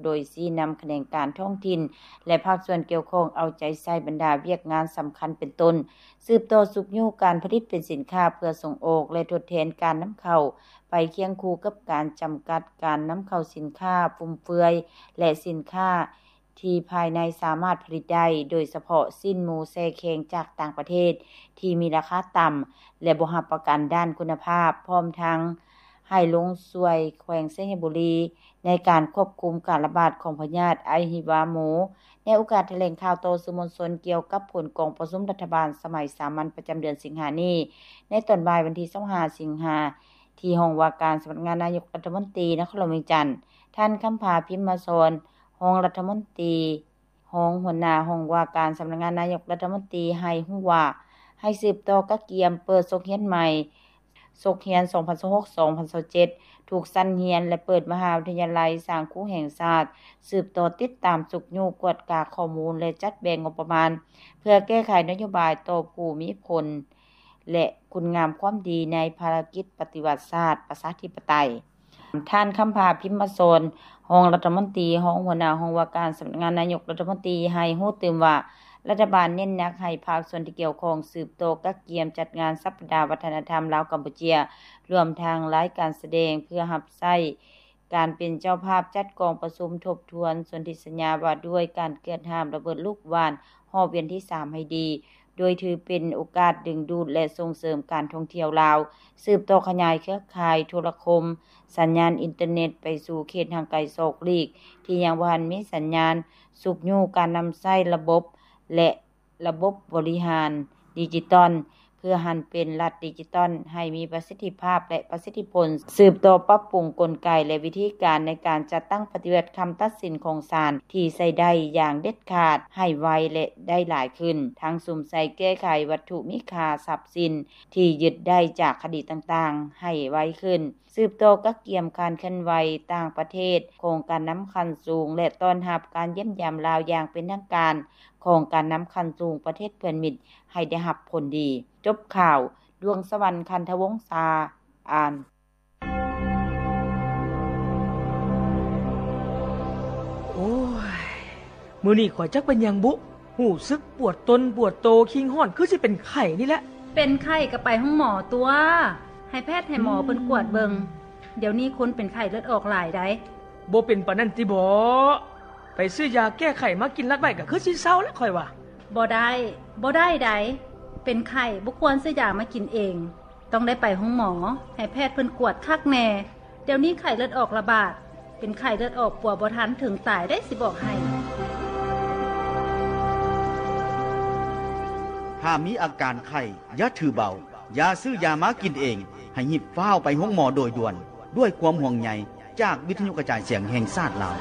ໂດຍຊີ້ນຳຂະແໜງການທ້ອງຖິ່ນ ແລະ ພາກສ່ວນກ່ຽວຂ້ອງເອົາໃຈໃສ່ບັນດາວຽກງານສຳຄັນເປັນຕົ້ນ ສືບຕໍ່ຊຸກຍູ້ການຜະລິດເປັນສິນຄ້າເພື່ອສົ່ງອອກ ແລະ ທົດແທນການນຳເຂົ້າ ໄປຄຽງຄູ່ກັບການຈຳກັດການນຳເຂົ້າສິນຄ້າຟຸມເຟືອຍ ແລະ ສິນຄ້າທີ່ພາຍໃນສາມາດຜະລິດໄດ້ ໂດຍສະເພາະຊີ້ນໝູແຊ່ແຂງຈາກຕ່າງປະເທດທີ່ມີລາຄາຕ່ຳ ແລະ ບໍ່ຮັບປະກັນດ້ານຄຸນນະພາບ, ພ້ອມທັງໃຫ້ລົງຊ່ວຍແຂວງໄຊຍະບູລີ ໃນການຄວບຄຸມການລະບາດຂອງພະຍາດອະຫິວາໝູ. ໃນໂອກາດຖະແຫຼງຂ່າວຕໍ່ສື່ມວນຊົນກ່ຽວກັບຜົນກອງປະຊຸມລັດຖະບານສະໄໝສາມັນປະຈຳເດືອນສິງຫານີ້ ໃນຕອນບ່າຍວັນທີຊາວຫ້າສິງຫາ ທີ່ຫ້ອງວ່າການສຳນັກງານນາຍົກລັດຖະມົນຕີ ນະຄອນຫຼວງວຽງຈັນ, ທ່ານ ຄຳຜາ ພິມມະສອນ ຮອງລັດຖະມົນຕີ ຮອງຫົວໜ້າຫ້ອງວ່າການສຳນັກງານນາຍົກລັດຖະມົນຕີ ໃຫ້ຮູ້ວ່າ ໃຫ້ສືບຕໍ່ກະກຽມເປີດສົກຮຽນໃໝ່ ສົກຮຽນສອງພັນຊາວຫົກ ສອງພັນຊາວເຈັດ ທຸກຊັ້ນຮຽນ ແລະ ເປີດມະຫາວິທະຍາໄລສ້າງຄູແຫ່ງຊາດ, ສືບຕໍ່ຕິດຕາມຊຸກຍູ້ກວດກາຂໍ້ມູນ ແລະ ຈັດແບ່ງງົບປະມານ ເພື່ອແກ້ໄຂນະໂຍບາຍຕໍ່ຜູ້ມີຜົນ ແລະ ຄຸນງາມຄວາມດີໃນພາລະກິດປະຕິວັດຊາດປະຊາທິປະໄຕ. ທ່ານ ຄຳຜາ ພິມມະສອນ ຮອງລັດຖະມົນຕີ ຮອງຫົວໜ້າຫ້ອງວ່າການສຳນັກງານນາຍົກລັດຖະມົນຕີ ໃຫ້ຮູ້ຕື່ມວ່າ ລັດຖະບານເນັ້ນໜັກໃຫ້ພາກສ່ວນທີ່ກ່ຽວຂ້ອງສືບຕໍ່ກະກຽມຈັດງານສັບປະດາວັດທະນະທຳລາວ-ກຳປູເຈຍ ລວມທັງລາຍການສະແດງ ເພື່ອຮັບໃຊ້ການເປັນເຈົ້າພາບຈັດກອງປະຊຸມທົບທວນສົນທິສັນຍາວ່າດ້ວຍການເກືອດຫ້າມລະເບີດລູກຫວ່ານຮອບວຽນທີສາມໃຫ້ດີ ໂດຍຖືເປັນໂອກາດດຶງດູດ ແລະ ສົ່ງເສີມການທ່ອງທ່ຽວລາວ, ສືບຕໍ່ຂະຫຍາຍເຄືອຂ່າຍໂທລະຄົມ, ສັນຍານອິນເຕີເນັດໄປສູ່ເຂດຫ່າງໄກສອກຫຼີກ ທີ່ຍັງບໍ່ທັນມີສັນຍານ, ຊຸກຍູ້ການນຳໃຊ້ລະບົບ ແລະ ລະບົບບໍລິຫານດິຈິຕອນ ເພື່ອຫັນເປັນລັດດິຈິຕອນໃຫ້ມີປະສິດທິພາບ ແລະ ປະສິດທິຜົນ, ສືບຕໍ່ປັບປຸງກົນໄກ ແລະ ວິທີການໃນການຈັດຕັ້ງປະຕິບັດຄຳຕັດສິນຂອງສານທີ່ໃຊ້ໄດ້ຢ່າງເດັດຂາດ ໃຫ້ໄວ ແລະ ໄດ້ຫຼາຍຂຶ້ນ, ທັງສຸມໃສ່ແກ້ໄຂວັດຖຸມີຄ່າ, ຊັບສິນທີ່ຍຶດໄດ້ຈາກຄະດີຕ່າງໆ ໃຫ້ໄວຂຶ້ນ, ສືບຕໍ່ກະກຽມການເຄື່ອນໄຫວຕ່າງປະເທດຂອງການນຳຂັ້ນສູງ ແລະ ຕ້ອນຮັບການຢ້ຽມຢາມລາວຢ່າງເປັນທາງການຂອງການນຳຂັ້ນສູງປະເທດເພື່ອນມິດໃຫ້ໄດ້ຮັບຜົນດີ. ຈົບຂ່າວ, ດວງສະຫວັນ ຄັນທະວົງສາ ອ່ານ. ໂອ້ຍ ມື້ນີ້ຂ້ອຍຈັກເປັນຫຍັງບຸ ຮູ້ສຶກປວດຕົນປວດໂຕ ຄີງຮ້ອນ ຄືຊິເປັນໄຂ້ນີ້ແຫຼະ. ເປັນໄຂ້ກໍໄປໂຮງໝໍຕົວະ ໃຫ້ແພດໃຫ້ໝໍເພິ່ນກວດເບິ່ງ. ດຽວນີ້ຄົນເປັນໄຂ້ເລືອດອອກຫຼາຍໃດ໋. ບໍ່ເປັນປານນັ້ນຕິບໍ? ໄປຊື້ຢາແກ້ໄຂ້ມາກິນລັດໄວ້ກໍຄືຊິເຊົາແຫຼະຂ້ອຍວ່າ. ບໍ່ໄດ້, ບໍ່ໄດ້ໃດ໋. ເປັນໄຂ້ບໍ່ຄວນຊື້ຢາມາກິນເອງ. ຕ້ອງໄດ້ໄປໂຮງໝໍ ໃຫ້ແພດເພິ່ນກວດຄັກແນ່. ດຽວນີ້ໄຂ້ເລືອດອອກລະບາດ, ເປັນໄຂ້ເລືອດອອກປົວບໍ່ທັນເຖິງຕາຍໄດ໋ ຊິບອກໃຫ້. ຖ້າມີອາການໄຂ້ ຢ່າຖືເບົາ, ຢ່າຊື້ຢາມາກິນເອງ, ໃຫ້ຮີບຟ້າວໄປໂຮງໝໍໂດຍດ່ວນ. ດ້ວຍຄວາມຫ່ວງໃຍຈາກວິທະຍຸກະຈາຍສຽງແຫ່ງຊາດລາວ.